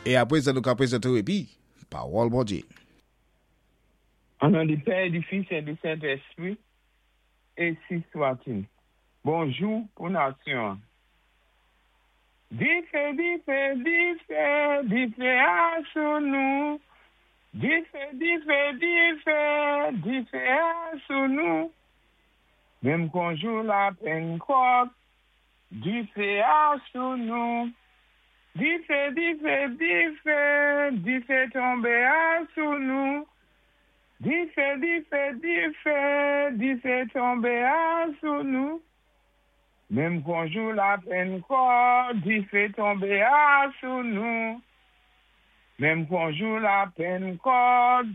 É apwé sa nou ka pwézanté-w épi Pawòl Bondyé. An non di Pè, di Fis é di Sentèspwi, ensi swatil. Bonjou pou nasyon an. Difé, difé, difé, difé a sou nou. Difé, difé, difé, difé a sou nou. Menm kon jou Lapennkòt, difé a sou nou. Difé, difé, difé, difé tonbé a sou nou. Difé, difé, difé, difé tonbé a sou nou. Menm kon jou Lapennkòt, difé tonbé a sou nou. Menm kon jou Lapennkòt,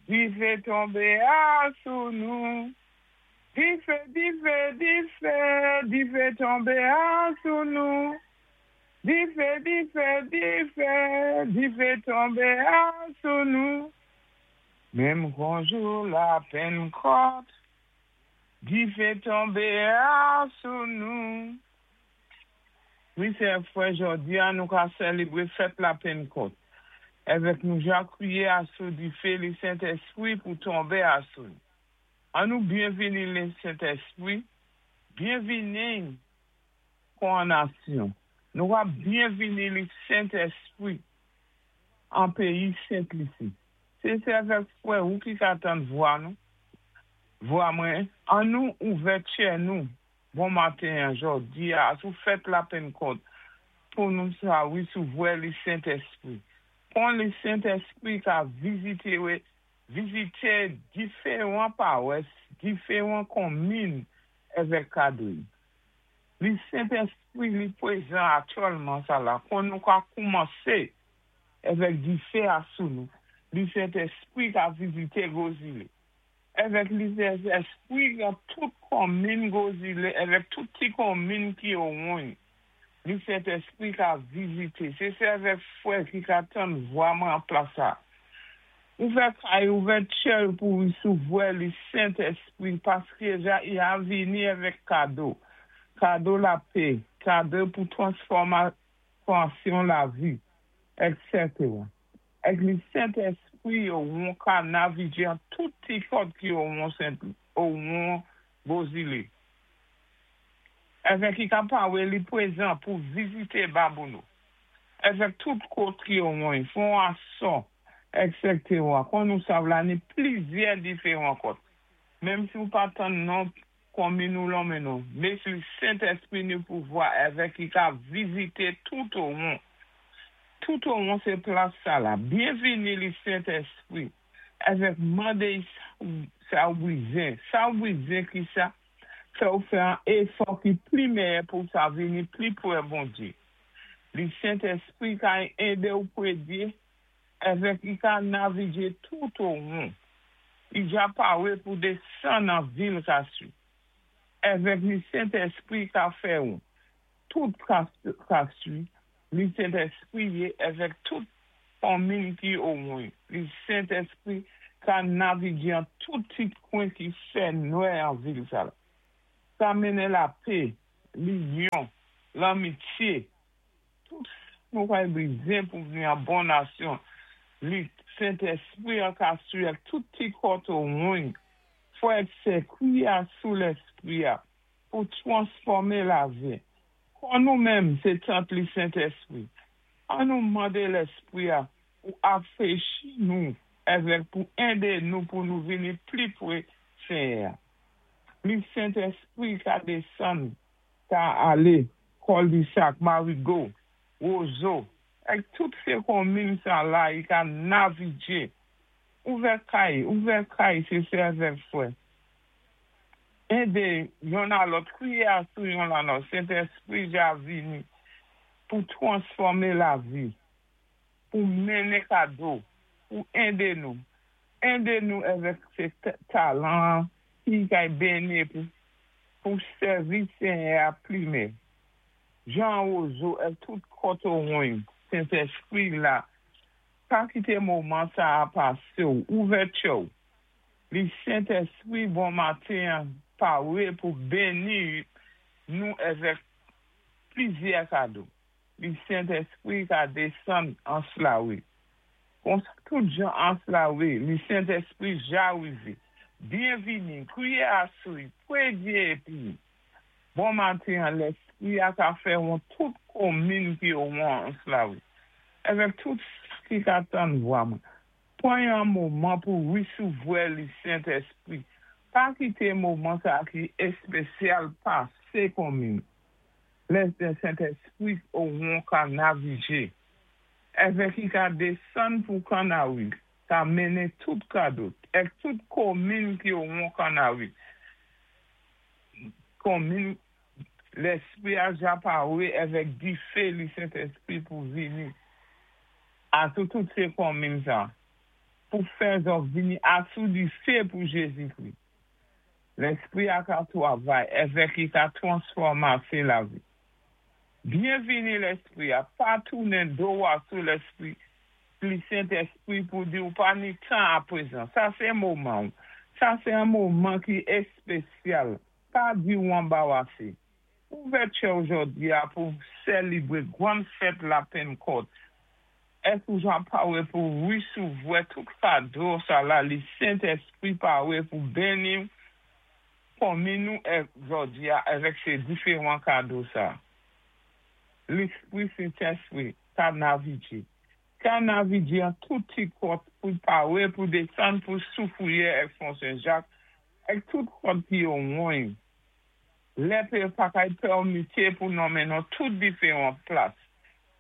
difé tonbé a sou nou. Difé, difé, difé, difé tonbé a sou nou. Difé, difé, difé, difé tonbé a sou nou. Menm kon jou Lapennkòt, difé tonbé a sou nou. Wi, sè frè, jòdi a nou ka sèlébré fèt Lapennkòt. Èvèk nou ja kwiyé asou difé li Sentèspwi pou tonbé asou nou. An nou byenvini lé Sentèspwi, byenvini kon an nasyon. Nou ka byenvini li Sentèspwi an péyi Sent Lisi. Sé sè avèk frè ou ki ka tann vwa nou, vwa mwen. An nou ouvè tchè nou bon maten an jòdi a asou fèt Lapennkòt pou nou sa wisouvrè li Sentèspwi. Kon li Sentèspwi ka vizité vizité diféwan pawès, diféwan konmin èvèk kado-y. Li Sentèspwi li pwézan aktyèlman sa la kon nou ka koumansé èvèk difé a sou nou. Li Sentèspwi ka vizité gwo zilé. Èvèk li Sentèspwi nan tout konmin gwo zilé èvèk tout ti konmin ki owon-y. Li Sentèspwi ka vizité. Sé sè avèk frè ki ka tann vwa mwen an plas sa. Ouvè kay, ouvè tchè-w pou wisouvwè li Sentèspwi paské ja i a vini èvèk kado. Kado lapé, kado pou transfòmasyon lavi, èksètera. Èk li Sentèspwi owon ka navigé an tout ti kòt ki owon Sent owon gwo zilé. Èvèk i ka pawé li pwézan pou vizité Babouno. Èvèk tout kot ki owon-y, Fon Asò, èksètera. Kon nou sav la ni plizyè diféwan kòt. Menm si ou pa tann non konmin ou lonmen non, mé si Sentèspwi ni pouvwa èvèk i ka vizité tout owon. Tout owon sé plas sa la. Byenvini li Sentèspwi. Èvèk mandé-y sa ou bwizin. Sa ou bwizin ki sa fè ou fè an éfò ki pli mèyè pou sa vini pli pwè Bondyé. Li Sentèspwi ka édé ou pwédyé èvèk i ka navigé tout owon. I ja pawé pou désann an vil Kaswi. Èvèk li Sentèspwi ka fè ou tout Kaswi. Li Sentèspwi yé èvèk tout konmin ki owon. Li Sentèspwi ka navigé an tout ti kwen ki fè nwè an vil sa la. Ka mennen lapé, linyon, lanmityé, tout sa nou kay bwizin pou vini an bon nasyon. Li Sentèspwi an ka swi ak tout ti kòt owon. Frè ak sè, kwiyé asou Lèspwi a pou twansfòmé lavi. Kon nou menm sé tant li Sentèspwi. An nou mandé Lèspwi a pou afrechi nou èvèk pou édé nou pou nou vini pli pwé Senyè a. Li Sentèspwi ka désann, ka alé Kòldisak, Marigo, Wozo, èk tout sé konmin sa la i ka navigé. Ouvè kay, ouvè kay sé sè avèk frè. Édé yonn a lòt, kwiyé asou yon la lòt. Sentèspwi ja vini pou twansfòmé lavi, pou mennen kado, pou édé nou. Édé nou èvèk sé talan ki kay beni pou pou sèvi Senyè a pli mè. Jan Wozo èk tout kòt owon Sentèspwi la, pa kité moman sa a pasé-w, ouvè tchè-w. Li Sentèspwi bon maten an pawé pou beni nou èvèk plizyè kado. Li Sentèspwi ka désann ans lawi. Konsa tout jan ans lawi, li Sentèspwi ja wivé. Byenvini, kwiyé asou-y, pwédyé épi bon maten-an Lèspwi-a ka fè won tout konminn ki owon ans lawi. Avèk tout sa ki ka tann vwa mwen. Pwan yon moman pou wisouvrè li Sentèspwi. Pa kité moman sa ki éspésyal pasé konminn. Lè Sentèspwi owon ka navijé. Èvè ki ka désann pou Kannawi, ka mennen tout kado, èk tout konminn ki owon Kannawi. Konminn Lèspwi-a ja pawé avèk difé li Sentèspwi pou vini asou tout sé konminn sa, pou fè zòt vini asou difé pou Jézikri. Lèspwi-a ka twavay èvèk i ka twansfòmasé lavi. Byenvini Lèspwi-a, pa tounen do asou Lèspwi li Sentèspwi pou di ou pa ni tan apwézan. Sa sé moman ou. Sa sé an moman ki éspesyal. Pa di ou anbawasé. Ouvè tchè-w jòdi-a pou sélibwé gwann fèt la Pennkòt. Èk ou ja pawé pou wisouvrè tout kado sa la li Sentèspwi pawé pou béni konminn nou èk jòdi-a avèk sé diféwan kado sa. Lèspwi Sentèspwi ka navijé. Ka navijé an tout ti kòt pou pawé pou désann pou Soufwiyè èk Fon Sen-Jak èk tout kòt ki owon. Lè pé pa kay pèmité pou nonmen nan tout diféwan plas.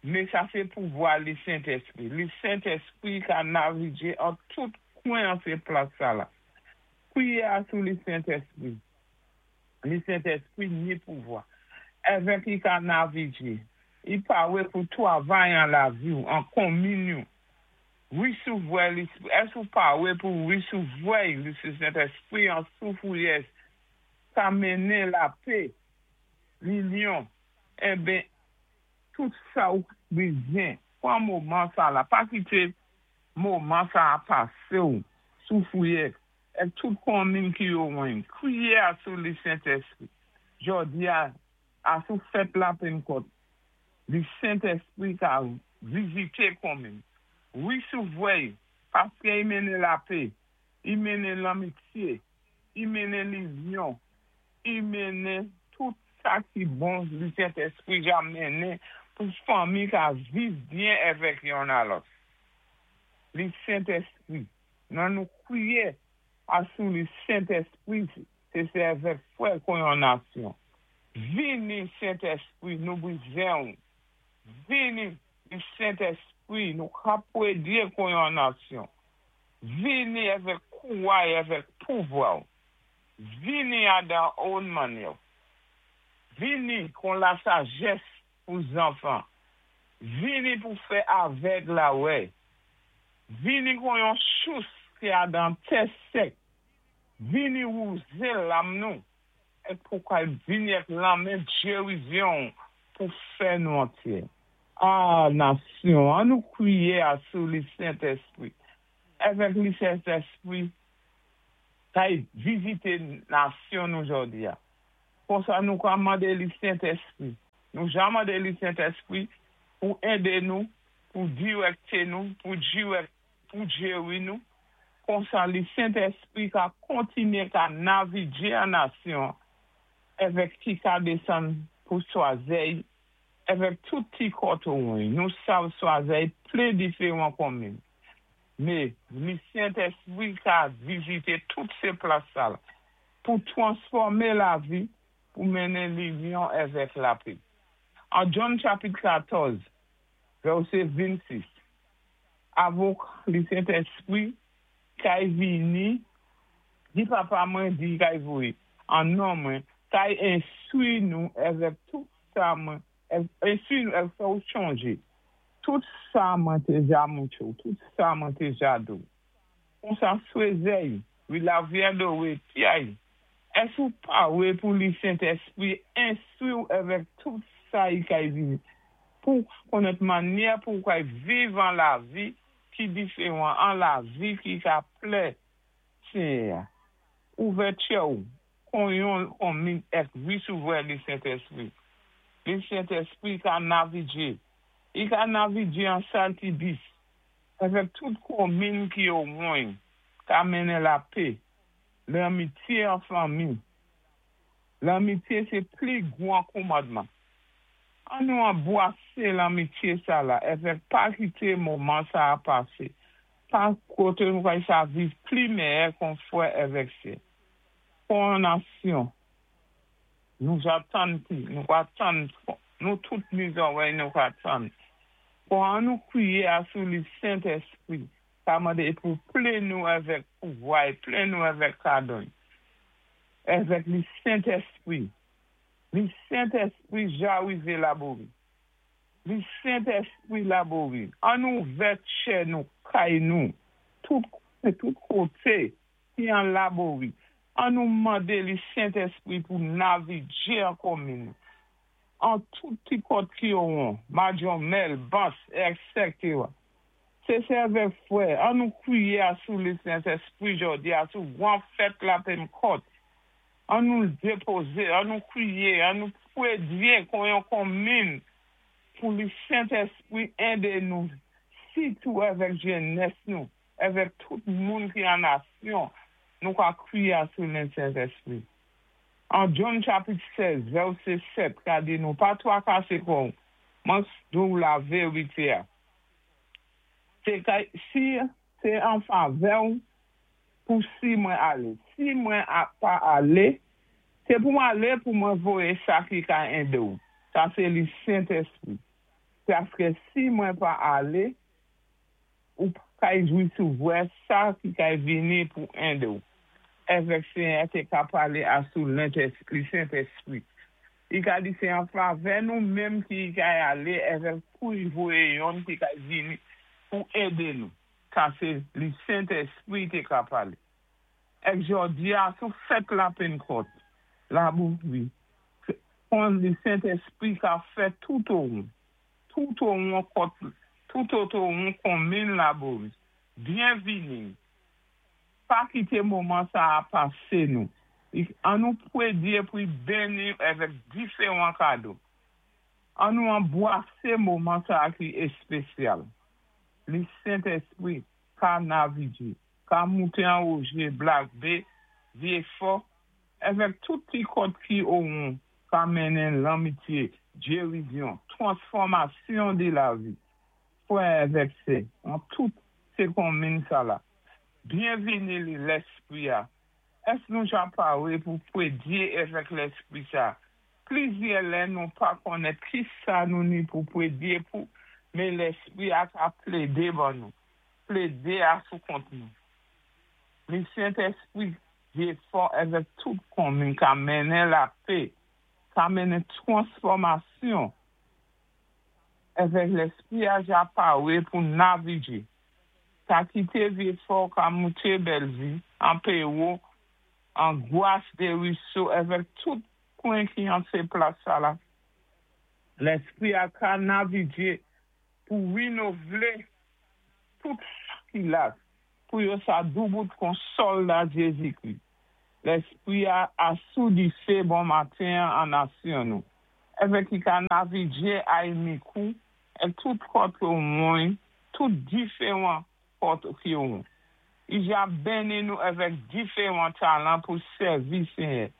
Mé sa sé pouvwa li Sentèspwi. Li Sentèspwi ka navijé an tout kwen an sé plas sa la. Kwiyé asou li Sentèspwi. Li Sentèspwi ni pouvwa. Èvèk i ka navijé. I pawé pou twavay an lavi ou, an konminn ou. Wisouvrè li, ès ou pawé pou wisouvrè li Sentèspwi an Soufwiyè ka mennen lapé, linyon, enben tout sa ou bizwen. Pwan moman sa la, pa kité moman sa a pasé ou Soufwiyè èk tout konminn ki owon. Kwiyé asou li Sentèspwi. Jòdi-a, asou fèt la Pennkòt, li Sentèspwi ka vizité konminn. Wisouvrè-y, paské i mennen lapé, i mennen lanmityé, i mennen linyon, i mennen tout sa ki bon li Sentèspwi ja mennen pou fanmi ka viv byen èvèk yonn a lòt. Li Sentèspwi, nan nou kwiyé asou li Sentèspwi sé sé èvèk fwè kon yon nasyon. Vini Sentèspwi, nou bizwen ou. Vini li Sentèspwi, nou ka pwédyé kon yon nasyon. Vini èvèk kouway, èvèk pouvwa ou. Vini adan own mannyè. Vini kon la sajès pou zanfan. Vini pou fè avèg la wè. Vini kon yon sous ki adan tè sèk. Vini wouzé lam nou. Èk pou kay vini èk lanmen djerizyon pou fè nou antyé. Ah, nasyon, an nou kwiyé asou li Sentèspwi. Èvèk li Sentèspwi, kay vizité nasyon nou jòdi-a. Konsa nou ka mandé li Sentèspwi. Nou ja mandé li Sentèspwi pou édé nou, pou dirèkté nou, pou dirèk, pou djéwi nou. Konsa li Sentèspwi ka kontinyé ka navijé an nasyon èvèk ki ka désann pou Swazèy èvèk tout ti kòt owon. Nou sav Swazèy plen diféwan konminn. Mé li Sentèspwi ka vizité tout sé plas sa la pou twansfòmé lavi, pou mennen linyon èvèk lapé. An John chapit 14, vèsé 26, avòk li Sentèspwi kay vini, di papa mwen di kay voyé, an non mwen, kay enstwi nou èvèk tout sa mwen, enstwi nou èk fè ou chonjé. Tout sa mwen té ja moutré ou, tout sa mwen té ja di ou. Konsa Swezèy, wi lavyè dowé pyay, ès ou pawé pou li Sentèspwi enstwi ou èvèk tout sa i kay vini, pou konnèt mannyè pou ou kay viv an lavi ki diféwan, an lavi ki ka plè Senyè-a. Ouvè tchè ou kon yon konminn èk wisouvrè li Sentèspwi. Li Sentèspwi ka navijé. I ka navidjé an Saltibis, avèk tout konminn ki owon-y, ka mennen lapé, lanmityé an fanmi. Lanmityé sé pli gwan konmandman. An nou anbwasé lanmityé sala avèk pa kité moman saa pasé, pa koté nou kay sa viv pli mèyè kon fwè avèk sè. Kon nasyon, nou ja tann pi, nou ka tann, nou tout ni zòwèy nou ka tann. Kon an nou kwiyé asou li Sentèspwi, ka mandé pou plen nou avèk pouvwa-y, plen nou avèk kado-y. Avèk li Sentèspwi. Li Sentèspwi ja wivé Labori. Li Sentèspwi Labori. An nou ouvè tchè nou, kay nou, tout tout koté ki an Labori. An nou mandé li Sentèspwi pou navidjé an konminn nou. An tout ti kòt ki owon, Madyonmèl, Bans, èksètèwa. Sé sè avèk fwè, an nou kwiyé asou li Sentèspwi jòdi asou gwan fèt Lapennkòt. An nou dépozé, an nou kwiyé, an nou pwédyé kon yon konminn pou li Sentèspwi édé nou, sitou avèk jènès nou, avèk tout moun ki an nasyon, nou ka kwiyé asou li Sentèspwi. An John chapit 16, vèsé 7, ka di nou, pa twakasé kò-ou, mwen di-ou laverité-a. Sé kay, si sé an favè-ou pou si mwen alé. Si mwen pa alé, sé pou mwen alé pou mwen voyé sa ki ka édé-ou. Sa sé li Sentèspwi. Paské si mwen pa alé, ou pa kay jwisou vwè sa ki kay vini pou édé-ou. Avèk Senyè té ka palé asou li Sentèspwi. I ka di sé an favè nou menm ki kay alé avèk pou y voyé yonn ki kay vini pou édé nou. Sa sé li Sentèspwi té ka palé. Èk jòdi-a sou fèt Lapennkòt, Labori, kon li Sentèspwi ka fè tout owon, tout owon kòt, tout otowon konminn Labori. Byenvini. Pa kité moman saa pasé nou. An nou pwédyé pou y benni avèk diféwan kado. An nou anbwasé moman saa ki èspésyal. Li Sentèspwi ka navidjé, ka mouté an Woje, Blak Bé, Vyéfò, avèk tout ti kòt ki owon ka mennen lanmityé, gérizyon, twansfòmasyon di lavi. Fwè avèk sè, an tout sé konminn sala. Byenvini li Lèspwi-a. Èsk nou ja paré pou pwédyé avèk Lèspwi sa? Plizyè lè nou pa konnèt ki sa nou ni pou pwédyé pou, men Lèspwi-a ka plédé ban nou, plédé asou kont nou. Li Sentèspwi Vyéfò avèk tout konminn ka mennen lapé, ka mennen twansfòmasyon. Avèk Lèspwi-a ja paré pou navidjé. Ka kité Vyéfò, ka mouté Bèlvi, an Péwo, an Gwas de Riso, avèk tout kwen ki an sé plas sala. Lèspwi-a ka navidjé pou winouvlé tout sa ki la, pou yo sa doubout kon sòlda Jézikri. Lèspwi-a asou difé bon maten an nasyon nou. Avèk ki ka navidjé ay Mikou, èk tout kòt owon, tout diféwan kòt ki owon. I ja benni nou avèk diféwan talan pou sèvi Senyè.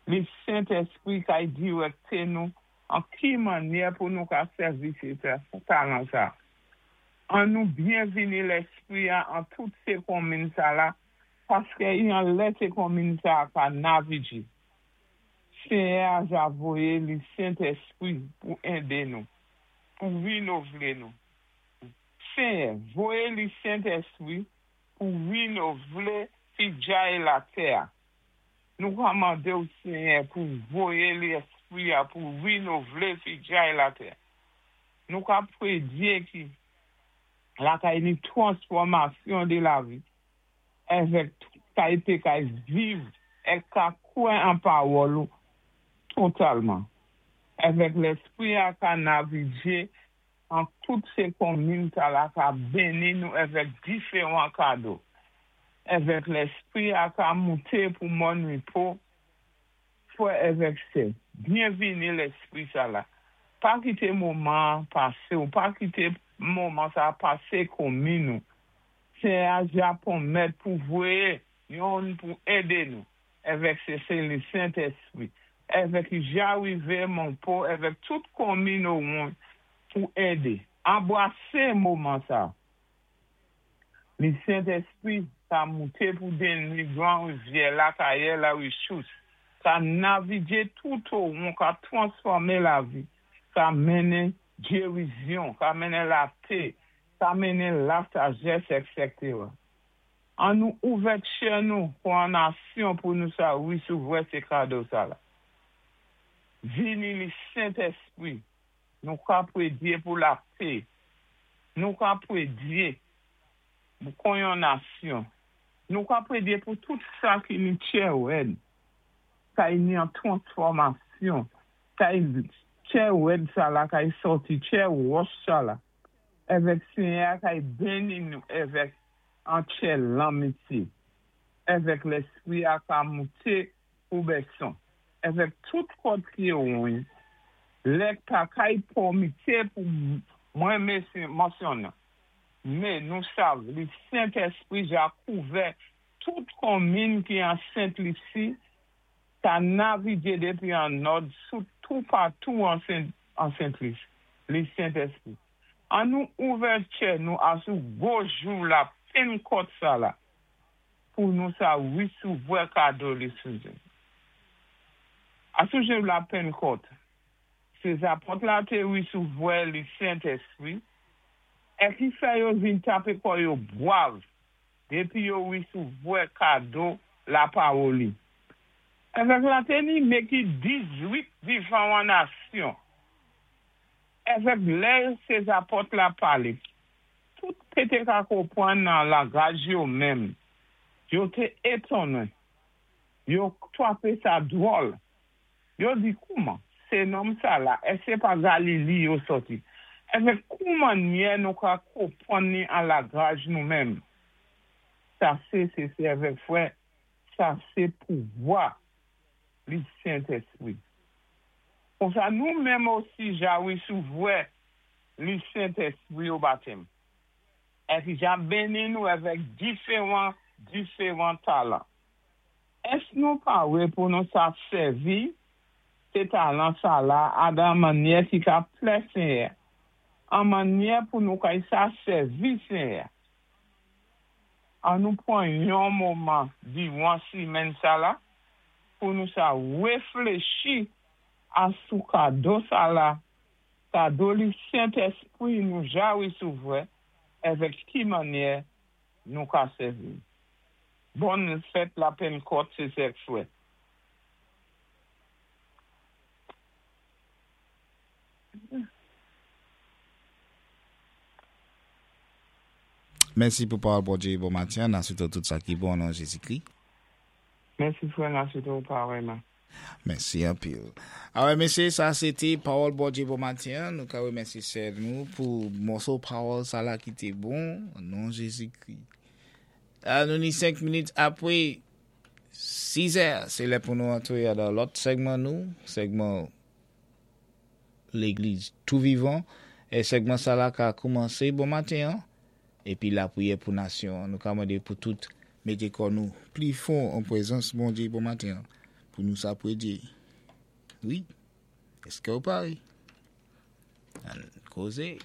Li Sentèspwi kay dirèkté nou an ki mannyè pou nou ka sèvi sé talan sa. An nou byenvini Lèspwi-a an tout sé konminn sala, paské i an lè sé konminn sa ka navidjé. Senyè-a ja voyé li Sentèspwi pou édé nou, pou winouvlé nou. Senyè, voyé li Sentèspwi pou winouvlé fidjay latè-a. Nou ka mandé-ou Senyè pou voyé Lèspwi-a pou winouvlé fidjay latè. Nou ka pwédyé ki lakay ni twansfòmasyon di lavi avèk tout kay kay viv èk ka kwè an pawòl ou totalman. Avèk Lèspwi-a ka navidjé an tout sé konminn sala ka benni nou avèk diféwan kado. Avèk Lèspwi-a ka mouté pou Mòn Ripo, fwè avèk sè. Byenvini Lèspwi sala. Pa kité moman pasé ou pa kité moman sa pasé konmi nou. Séyè-a ja pwonmèt pou voyé youn pou édé nou, èvèk sé le Sentéspri, èvèk i ja wivé Monpo èvèk tout konmin owon pou édé. Anbwasé moman sa. Le Sentéspri ka mouté pou denwi Gran Rivyè, Lakayè, Larichous, ka navigé tout owon, ka twansfòmé lavi, ka mennen gérizyon, ka mennen lapé, ka mennen lasajès, èksétéra. An nou ouvè tchè nou pou an nasyon pou nou sa wisouvrè sé kado sa la. Vini le Sentéspri, nou ka pwédyé pou lapé, nou ka pwédyé pou kon yon nasyon, nou ka pwédyé pou tout sa ki ni tchè wèd, kay ni an twansfòmasyon, kay tchè wèd sa la, kay sòti tchè wòch sa la, èvèk Séyè kay béni nou èvèk an tchè lanmityé, èvèk Léspri-a ka mouté pou bèson, èvèk tout kòt ki owon, lè pa kay pòmité pou mwen mansyonnen. Mé nou sav, le Sentéspri ja kouvè tout konmin ki an Sent Lisi, ka navigé dépi an nòd sou toupatou an Sent Lisi, le Sentéspri. An nou ouvè tchè nou asou gwo jou la Pennkòt sa la pou nou sa wisouvrè kado le Senté. Asou jou la Pennkòt, sé zapòt la té wisouvrè le Sentéspri, é ki fè yo vin tapé kò yo bwav dépi yo wisouvrè kado la pawòl-li. Èvèk la té ni méki 18 difawan nasyon. Èvèk lè sé zapòt la palé, tout pété ka konpwann nan langaj yo menm. Yo té étonnen. Yo twapé sa dwòl. Yo di kouman, sé nonm sa la, èské pa Galili yo sòti? Èvèk kouman nyè nou ka konpwann ni an langaj nou menm? Sa sé sé sé èvèk frè, sa sé pouvwa le Sentéspri. Konsa nou menm osi ja wisouvrè le Sentéspri o batèm. Épi ja béni nou èvèk diféwan diféwan talan. Ès nou pawé pou nou sa sèvi sé talan sa la adan mannyè ki ka plè Séyè, an mannyè pou nou kay sa sèvi Séyè. An nou pwan yon moman diwan simenn sa la pou nou sa wéfléchi asou kado sa la, kado le Sentéspri nou ja wisouvrè, èvèk ki mannyè nou ka sèvi. Bòn fèt la Pennkòt sé sè ak frè. Mèsi pou pawòl Bondyé bon matin, an swété tout sa ki bon nan Jézi-Kri. Mèsi frè, n a swété ou parèyman. Mèsi anpil. Awè mésyé, sa sé té pawòl Bondyé bon matin. Nou ka wémèsyé sè nou pou mòso pawòl sa la ki té bon nan Jézi-Kri. Nou ni 5 minit apwé 6 è, sé lè pou nou antré dan lòt sègman nou, sègman Légliz tou vivan. É sègman sa la ka koumansé bon matin an, épi lapwiyè pou nasyon an. Nou ka mandé pou tout mété kò nou pli fon an pwézans Bondyé bon matin an, pou nou sa pwédyé. Wi, èské ou paré? Ann kozé.